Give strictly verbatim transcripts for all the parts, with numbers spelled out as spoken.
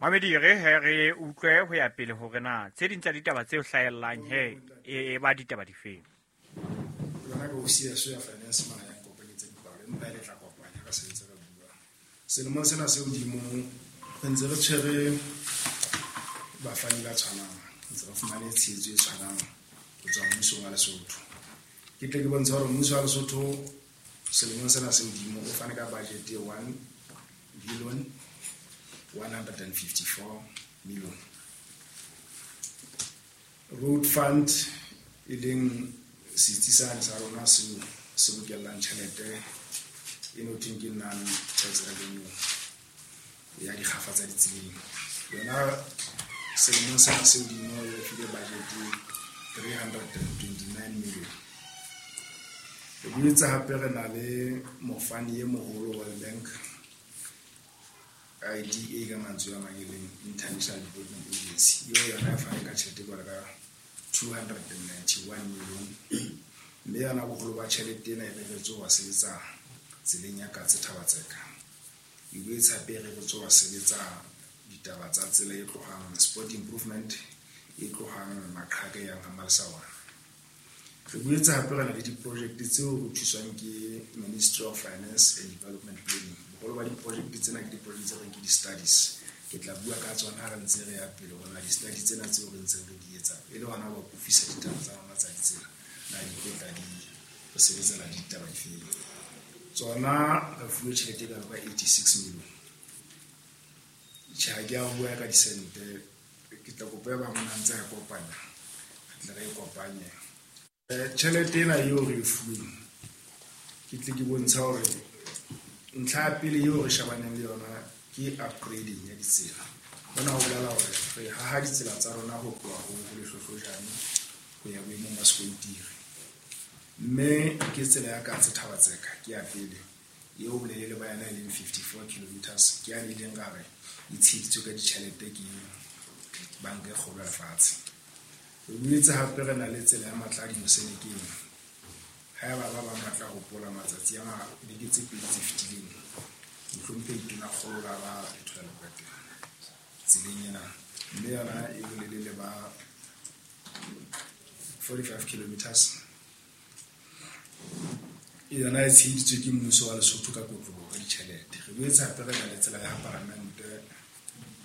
Mamedi re he re utlwe ho ya pele hore na tse ding tsa ditaba tse hlahellang he e ba ditaba difeng. Yona ke ofisi ya ya finance mona ya kopanyetsa dipalo empa e le tla kopanya ka sebetsa ka bua. Selemong sena se hodimo re ntse re tshwere bafani ba tshwanang, ntse re fumane tshehetso e tshwanang ho tswa mmusong wa Lesotho. Ke tle ke bontsha hore mmuso wa Lesotho selemong sena se hodimo o fane ka budget e one billion one hundred and fifty-four million. Road fund e leng setsi sane sa rona seo se bokellang tjhelete e no thweng ke non-tax revenue ya dikgafa tsa ditseleng. Yona selemong sena se hodimo e file budget three hundred and twenty-nine million. Re boetse hape re na le mofani e moholo World Bank, I D A ka mantswe a mang e leng International Development Agency. Eo yona e fane ka tjhelete jwalo ka two hundred and ninety-one million. Mme yona boholo ba tjhelete ena e reretswe ho sebetsa tseleng ya Katse Thaba-Tseka. E boetse hape e reretswe ho sebetsa ditaba tsa tsela e tlohang sport improvement e tlohang Maqhaka e yang ha Malesawana. Re boetse hape re na le di-project tseo re thuswang ke Ministry of Finance and Development Planning. Boholo ba di-project tsena ke di-project tse reng ke di-studies. Ke tla bua ka tsona ha re ntse re ya pele hore na di-study tsena tseo re ntseng re di etsa e le hona ho akofisa ditaba tsa rona tsa ditsela, na di tlo tla di re sebetsana le ditaba difeng. Tsona re fuwe tjhelete e kalo ka eighty-six million. Tjhe, ha ke a bua ka disente, ke tla kopa e bang o ntse a e kopanya, re tle re e kopanye. Eh, tjhelete ena eo re e fuweng, ke tle ke bontsha hore ntlha ya pele eo re shebaneng le yona ke upgrading ya ditsela. Hona ho bolela hore re haha ditsela tsa rona ho tloha ho Lehlohlojane ho ya boemong ba sekontiri. Mme ke tsela ya Katse Thaba-Tseka ke ya pele eo bolelele ba yona e leng fifty-four kilometers, ke yane e leng ka re e tsheheditswe ka ditjhelete ke banka e kgolo ya lefatshe. Re boetse hape re na le tsela ya Matladi Mosenekeng. Haeba ba bang ba tla hopola matsatsi a beke tse pedi tse fetileng, mohlomphehi Tonakgolo la ba Lethola Lekwete tseleng ena, mme yona e bolelele ba forty-five kilometers. Yona e tsheheditswe ke mmuso wa Lesotho ka kotloloho ka ditjhelete. Re boetse hape re na le tsela ya Paramente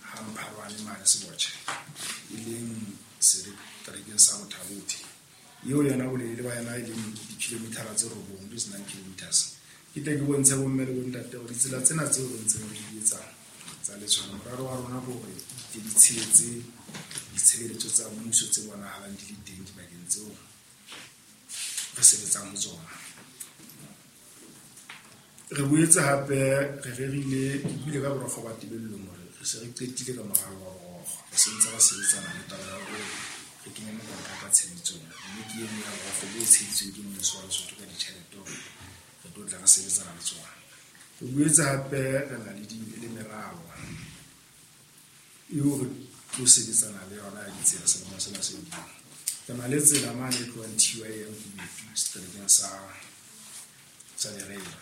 ha Mpharwane mane Sebotjhe, e leng seterekeng sa Botha-Bothe. Eo yona bolelele ba yona e leng di-kilometer tse robong, which is nine kilometers. Ke tle ke bontshe bomme le bontate hore ditsela tsena tseo re ntseng re di etsa tsa letsholo, morero wa rona ke hore di di tshehetse ditshebeletso tsa mmuso tse bonahalang di le teng dibakeng tseo re sebetsang ho tsona. Re boetse hape re rerile, ke buile ka borokgo ba tebellong hore re se re qetile ka moralo wa borokgo. Re se ntse re sebetsana le taba ya hore re kenye mokontraka tshebetsong, mme ke e nngwe ya borokgo bo tsheheditsweng ke mmuso wa Lesotho ka ditjhelete hore re tlo tla re sebetsana le tsona. Re boetse hape re na le di, le meralo eo re tlo sebetsana le yona ya ditsela selemong sena se hodimo. Re na le tsela mane e tlohang T Y M Kubetu seterekeng sa, sa Berea.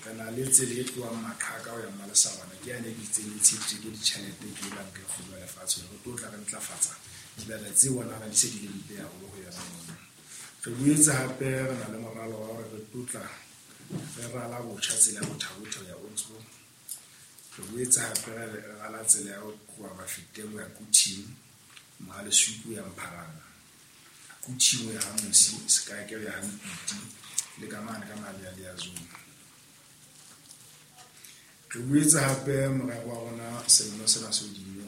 Re na le tsela e tlohang Maqhaka ho ya Malesawana, ke yane e itseng e tsheheditswe ke ditjhelete ke banka e kgolo ya lefatshe hore re tlo tla re ntlafatsa dibaka tse bonahalang di se di le mpe haholo ho yona mono. Re boetse hape re na le moralo wa hore re tlo tla re rala botjha tsela ya Botha-Bothe ho ya Oudtshoorn. Re boetse hape re rala tsela ya ho tloha Mafeteng ho ya Kuthing, Mohalesuku ho ya Mpharana, Kuthing ho ya ha Mosi, Sekake ho ya ha Mpiti le ka mane ka Malealea zone. Re boetse hape morero wa rona selemo sena se hodimo,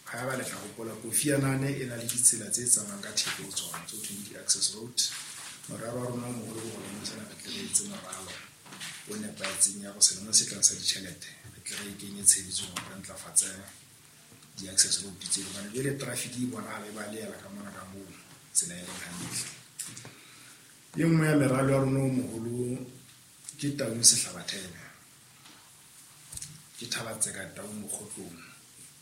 haeba le tla hopola Kofi Annan e na le ditsela tse tsamayang ka theko ho tsona tse ho thweng ke di-access road. Morero wa rona o moholo ke hore sena re tle re etse moralo o nepahetseng ya hore selemong se tlang sa ditjhelete re tle re e kenye tshebetsong hore re ntlafatse di-access road tseo, hobane jwale traffic e bonahala e balehela ka mona ka moo tsela e leng hantle. E nngwe ya meralo ya rona o moholo ke Taung Sehlabathebe, ke Thaba-Tseka Taung Mokgotlong.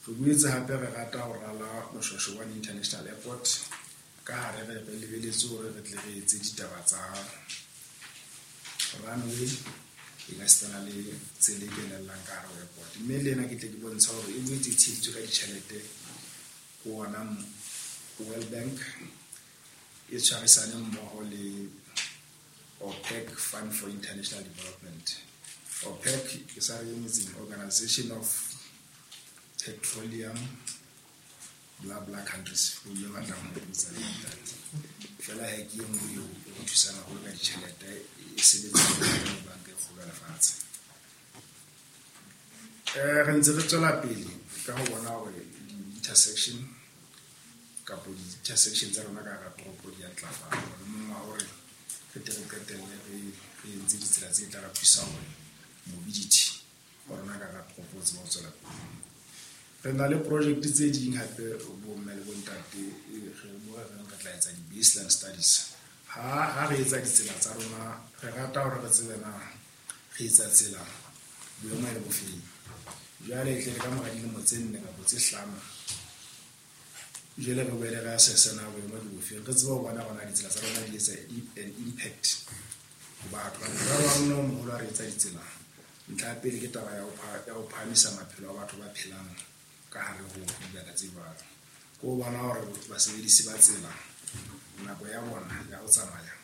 Re boetse hape re rata ho rala Moshoeshoe one International Airport ka hare re re lebeletse hore re tle re etse ditaba tsa runway E ka sitana le tsela e kenellang ka hare ho airport. Mme le ena ke tle ke bontsha hore e boetse e tsheheditswe ka ditjhelete ho ona World Bank, e tshwarisane mmoho le OPEC Fund for International Development. OPEC e sa re emetseng Organization of Petroleum bla bla countries, o ile batlang ho botsa le ntate. Fela he ke e nngwe eo e re thusang haholo ka ditjhelete, e sebetsa le banka e kgolo ya lefatshe. Eh, re ntse re tswela pele ka ho bona hore di-intersection kapo di-intersection tsa rona ka hara toropo di a ntlafala. Molemong wa hore re tle re qetelle re re entse ditsela tse tla re thusa hore mobility wa rona ka hara toropo o tsebe ho tswela pele. Re na le project tse ding hape bo mme le bontate, re mo re reng re tla etsa di-baseline studies. Ha ha re etsa ditsela tsa rona, re rata hore re tsebe na re etsa tsela boemo e le bofeng. Jwale e tle re ka mora dilemo tse nne kapa tse hlano, jwale re boele re assess na boemo ke bofeng, re tsebe ho bona hore na ditsela tsa rona di etsa an impact ho batho. Morero wa rona o moholo ha re etsa ditsela, ntlha ya pele ke taba ya ho ya ho phahamisa maphelo a batho ba phelang ka hare ho dibaka tse jwalo. Ke ho bona hore basebedisi ba tsela nako ya bona ya ho tsamaya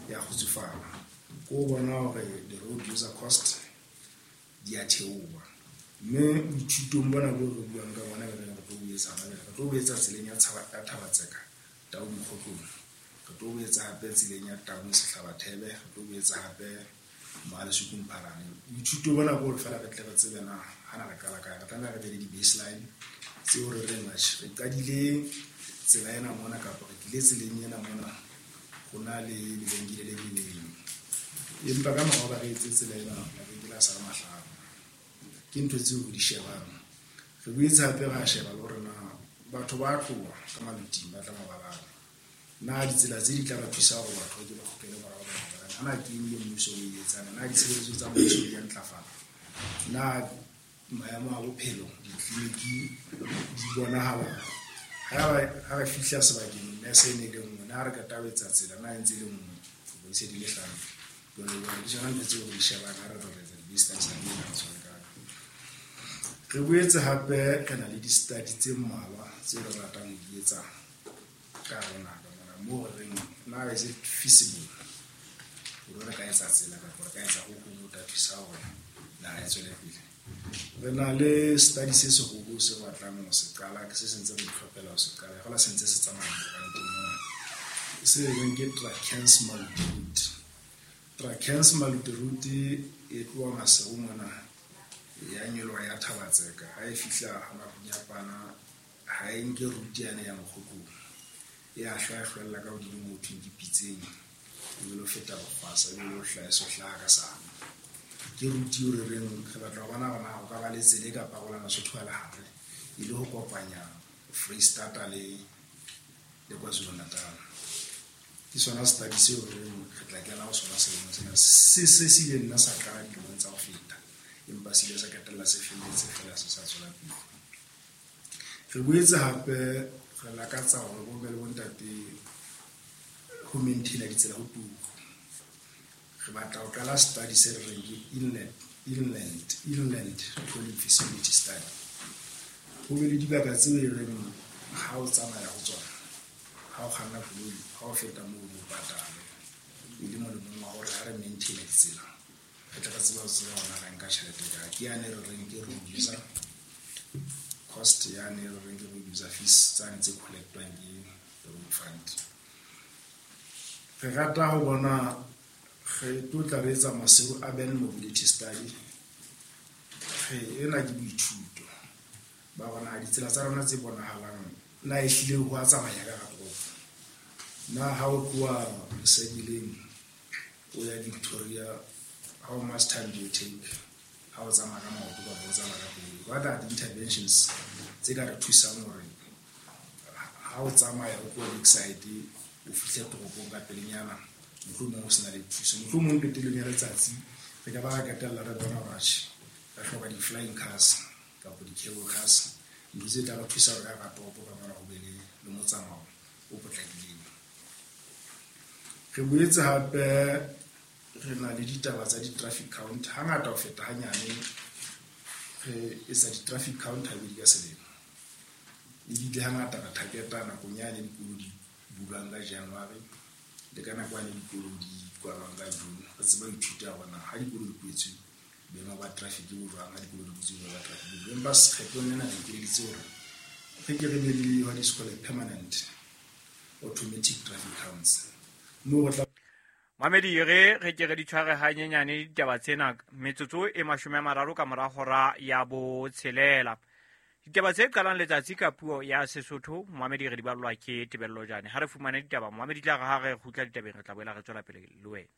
ya kgutsufala. Ke ho bona hore the road user cost di a theoha. Mme boithutong bona bo re buang ka bona re reng re tlo bo etsa hona jwale, re tlo bo etsa tseleng ya ya Thaba-Tseka, Taung Mokgotlong. Re tlo bo etsa hape tseleng ya Taung Sehlabathebe, re tlo bo etsa hape Mohale'shoek Mphalane. Boithuto bona bo re fela re tle re tsebe na hana re qala kae, re tlameha re be le di-baseline tseo re reng atjhe re qadile tsela ena mona kapa re tlile tseleng ena mona ho na le lebenkele le le leng. Empa ka mora hoba re etse tsela ena, mabenkele a sa le mahlano. Ke ntho tseo re di shebang. Re boetse hape ra sheba le hore na batho ba tloha ka maloting ba tla mabalane. Na ditsela tse di tla ba thusa hore batho ba ke ba kgutlele morao ba mabalane. Ana ke eng e mmuso o e etsang? Na ditshebeletso tsa mmuso di a ntlafala? Na maemo a bophelo ditleliniki di bonahala? Ha ha re fihla sebakeng nurse e ne le nngwe, na ha re qeta ho etsa tsela na e ntse e le nngwe, kapa e se di le hlano. Jwalo jwalo, ke tsona ntho tseo re di shebang ha re re etsa di-baseline survey re tshware ka. Re boetse hape re na le di-study tse mmalwa tse re ratang ho di etsa ka hare ho naha ka mona, moo re reng na is it feasible hore re ka etsa tsela kapa re ka etsa ho hong ho tla thusa hore naha e tswele pele. Re na le study se seholo se batlang ho se qala, ke se sentse re itlhophela ho se qala, feela se ntse se tsamaya koranteng mona. Se reng ke Drakens Maluti Route. Drakens Maluti Route e tloha Maseru mona ya nyoloha ya Thaba-Tseka, ha e fihla Mapunyapana ha e nke route yane ya Mokgotlong, e a hlwa e hlwella ka hodimo moo thweng ke Pitseng, e be lo feta Bokgwasa, e be lo hlaha e so hlaha ka Sane. Ke route eo re reng re batla ho bona hore na ho ka ba le tsela e ka parolang Lesotho a le hare, e le ho kopanya Foreisetata le le KwaZulu-Natal. Ke sona study seo re reng re tla kena ho sona selemong sena. Se se se ile nna sa qala dilemong tsa ho feta, empa se ile sa qetella se felletse feela se sa tswela pele. Re boetse hape re lakatsa hore bomme le bontate ho maintain-a ditsela ho turu. Re batla ho qala study se re reng ke inland, inland, inland tolling feasibility study. Ho be le dibaka tseo e reng ha o tsamaya ho tsona, ha o kganna koloi, ha o feta moo o patale. E le molemong wa hore ha re maintain-a ditsela, re tle re tsebe ho tseba hore na re nka tjhelete kae. Ke yane re reng ke road user cost, yane re reng ke road user fees tsane tse collect-wang ke road fund. Re rata ho bona re tlo tla re etsa Maseru Urban Mobility Study. Re ena ke boithuto ba bona ditsela tsa rona tse bonahalang na ehlile ho a tsamaya ka hara toropo. Na ha o tloha Sedileng o ya Victoria, how much time do you take ha o tsamaya ka maoto kapa o tsamaya ka koloi? What are the interventions tse ka re thusang hore ha o tsamaya o tloha Lakeside o fihle toropong ka pelenyana, mohlomong o sena le thuso, mohlomong qetellong ya letsatsi re ka ba ra qetella re bona hore atjhe re hloka di-flying cars kapa di-cable cars, ntho tse tla re thusa hore ka hara toropo ka mona ho be le le motsamao o potlakileng. Re boetse hape Re na le ditaba tsa di-traffic count. Hangata ho feta hanyane re etsa di-traffic count habedi ka selemo. Ebile hangata re target-a nakong yane dikolo di bulwang ka January le ka nako yane dikolo di kwalwang ka June. Re tsebe ho ithuta hore na ha dikolo di kwetswe boemo ba traffic bo jwang, ha dikolo di butswe boemo ba traffic bo jwang. Empa kgetlong lena re ikeleditse hore re ke re be le what is called a permanent automatic traffic counts. Moo re tla Mamedi re re ke re di tshware hanyenyane ditaba tsena metsotso e mashome a mararo ka mora hora ya botshelela. Ditaba tse qalang letsatsi ka puo ya Sesotho Mamedi re di ballwa ke Tebello Jane. Ha re fumane ditaba Mamedi tla re ha re kgutla ditabeng re tla boela re tswela pele le wena.